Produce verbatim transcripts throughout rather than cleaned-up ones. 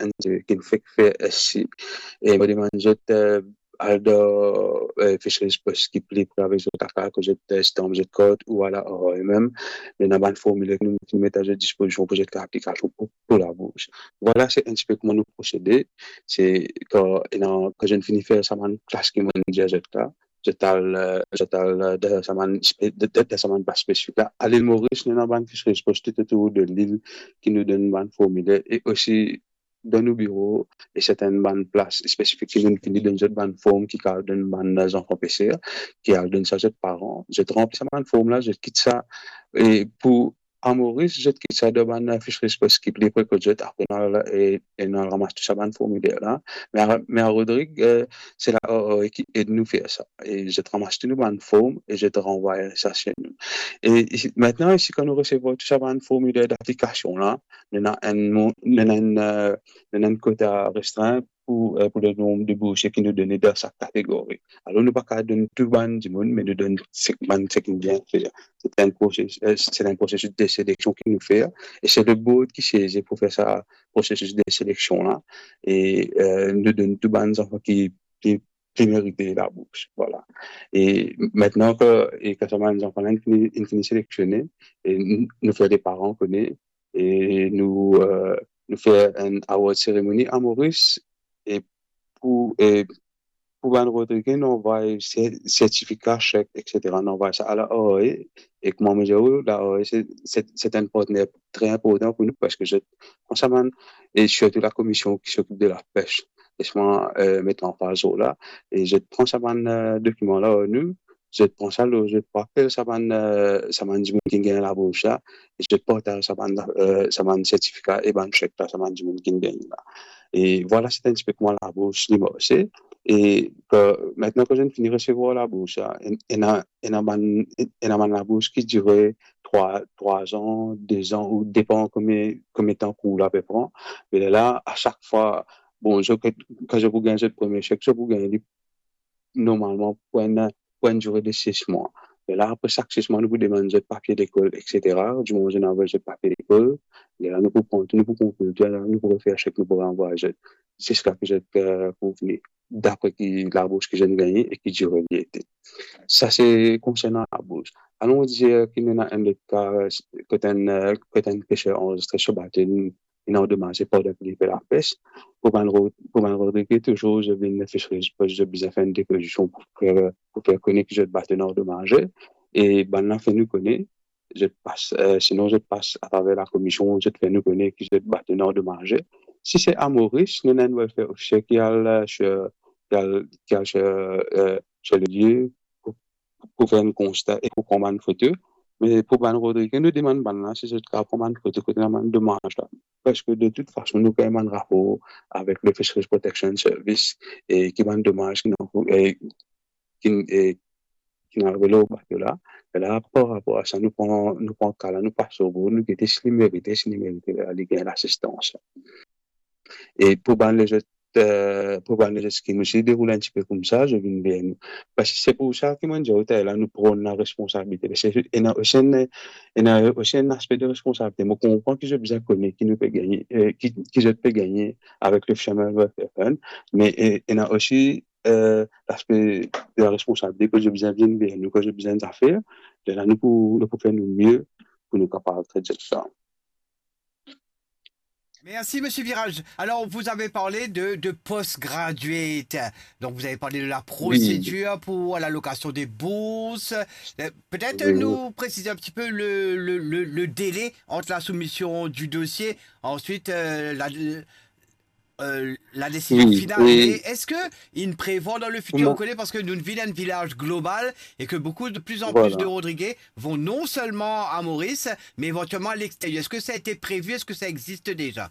enn ki nou fek fer isi. E mo demann zot, eh, al dan, eh, Fisheries Post ki pli pre avek zot lakaz, kot zot, eh, stamp zot kart, ou al ar a mem. Ena bann formiler ki nou, ki nou met a zot dispozision pou zot fer aplikasion pou, pou labours. Vwala, se enn tipe kouma nou prosede. Se kan, ena, kan zot fini fer sa bann klas ki mo dir zot la, zot al, eh, zot al, eh, dan sa bann spe-, dan, dan, dan sa bann plas spesifik la. Lil Moris, nou ena bann Fisheries Post toutotour de lil ki nou donn bann formiler, e osi dan nou biro, e sertin bann plas spesifik ki nou fini donn zot bann form ki kav donn bann zanfan peser, ki al donn sa zot paran, zot ranpli sa bann form la, zot kit sa, e pou a Moris, zot kit sa dan bann Fisheries Post ki pli pre kot zot, apre nou al, e, e nou al ramas tou sa bann formiler la. Me a, me a Rodrig, eh, se la, eh, eh, ki ed nou fer sa. E zot ramas tou nou bann form e zot ranvway sa se nou. E isi, aster, isi, kan nou resevwar tou sa bann formiler daplikasion la, nou ena enn mo-, nou ena enn, eh, nou ena enn kota restrin pou, eh, pou le nonb de boursie ki nou done dan sak kategori. Alor, nou pa kav donn tou bann dimoun, me nou donn sek-, bann seki bien fer. Se enn prosesis, eh, se enn prosesis de seleksion ki nou fer, e se le board ki sezi pou fer sa prosesis de seleksion la, e, eh, nou donn tou bann zanfan ki, ki, ki merite labours, vwala. E aster ke, e kan sa bann zanfan la inn fini, inn fini seleksionnen, e n-, nou fer leparan kone, e nou, eh, nou fer enn award ceremony a Moris, e pou, e pou bann Rodrige, nou anvway se-, sertifika, sek, et cetera. Nou anvway sa a la R A, e kouma mo dir ou, la R A se, se, se enn partner tre inportan pou nou, parski zot pran sa bann, e sirtou la komision ki sokip de lapes, les mwa, eh, met lanfaz lor la, e zot pran sa bann, eh, dokiman la ar nou, zot pran sa lor zot, pou apel sa bann, eh, sa bann dimoun ki gagn labours la, e zot partaz sa bann, eh, sa bann sertifika e bann sek la, sa bann dimoun ki gagn la. E vwala, se enn tipe kouma labours li marse. E, eh, aster ke zot fini resevwar labours la, en-, ena, ena bann, ena bann labours ki dire trwa, trwa an, de an, ou depan komie, komie tan kour la pe pran. Me lerla, a sak fwa, bon, zot, kan zot pou gagn zot premie sek, zot pou gagn li normalman pou enn, pou enn dire de sis mwa. E la, apre sak sis mwa, nou pou demann zot papie lekol, et cetera. Dimoman zot inn anvoy zot papie lekol, e la, nou pou pran, nou pou konpil, e la, nou pou refer sek, nou pou ranvway zot, ziska ki zot, eh, pou vini, dapre ki labours ki zot gagne e ki dire li ete. Sa se konsernan labours. Alon dir ki nou ena enn lot ka, kot enn, eh, kot enn peser anrezistre so bato, inn andomaze pandan ki li pe lapes. Pou bann Ro-, pou bann Rodrige, touzour zot vinn Fisheries Post, zot bizin fer enn depozision pou fer, pou fer kone ki zot bato inn andomaze. E bann la fer nou kone, zot pas, eh, sinon zot pas atraver lakomision, zot fer nou kone ki zot bato inn andomaze. Si se a Moris, nou ena enn welfare officer ki al, eh, sir, ki al, ki al sir, eh, sir le lie, pou, pou fer enn konsta e pou pran bann foto. Me pou bann Rodrige, nou demann bann la si zot kav pran bann foto kot ena bann domaz la. Parski de tout fason, nou gagn bann rapor avek le Fisheries Protection Service e ki bann domaz ki inn, e ki, e ki inn arive lor bato la. E la, par rapor a sa, nou pran, nou pran ka la, nou pas lor bord, nou gete si li merite, si li merite, la, li gagn lasistans la. E pou bann lezot, eh, pou bann lezot skim osi, deroul enn tipe koumsa, zot vinn ver nou. Parski se pou sa ki mo'nn dir ou talera, nou pran nou laresponsabilite. Parski ena osi enn, ena osi enn aspe de responsabilite. Mo konpran ki zot bizin kone ki nou pe gagne, eh, ki, ki zot pe gagne avek le Fisherman Welfare Fund, me, eh, ena osi, eh, laspe de laresponsabilite, ki zot bizin vinn ver nou, ki zot bizin zafer, lerla nou pou, nou pou fer nou mie pou nou kapav tret zot sa. Merci, Monsieur Virage. Alors, vous avez parlé de, de postgraduate. Donc, vous avez parlé de la procédure pour l'allocation des bourses. Euh, Peut-être nous préciser un petit peu le, le, le, le délai entre la soumission du dossier, ensuite euh, la, euh, la décision finale. Mais est-ce que il prévoit dans le futur, on connaît parce que nous vivons un village global et que beaucoup de plus en plus de Rodriguais vont non seulement à Maurice, mais éventuellement à l'extérieur. Est-ce que ça a été prévu ? Est-ce que ça existe déjà ?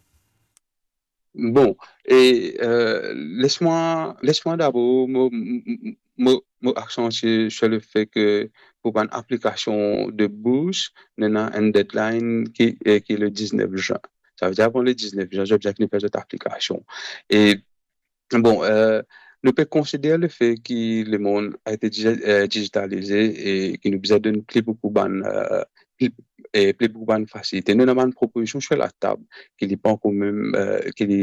Bon, e, eh, les mwa, les mwa dabor, mo, mo, mo, mo aksantie sir lefet ke pou bann aplikasion de bours, nou ena enn deadline ki, eh, ki le diznef zin. Savedir avan le diznef zin, zot bizin fini fer zot aplikasion. E bon, eh, nou pe konsider lefet ki lemond a ete dizi-, eh, dizitalize e ki nou bizin donn pli boukou bann, eh, pli, e pli boukou bann fasilite. Nou ena bann propozision sir latab ki li pankor mem, eh, ki li,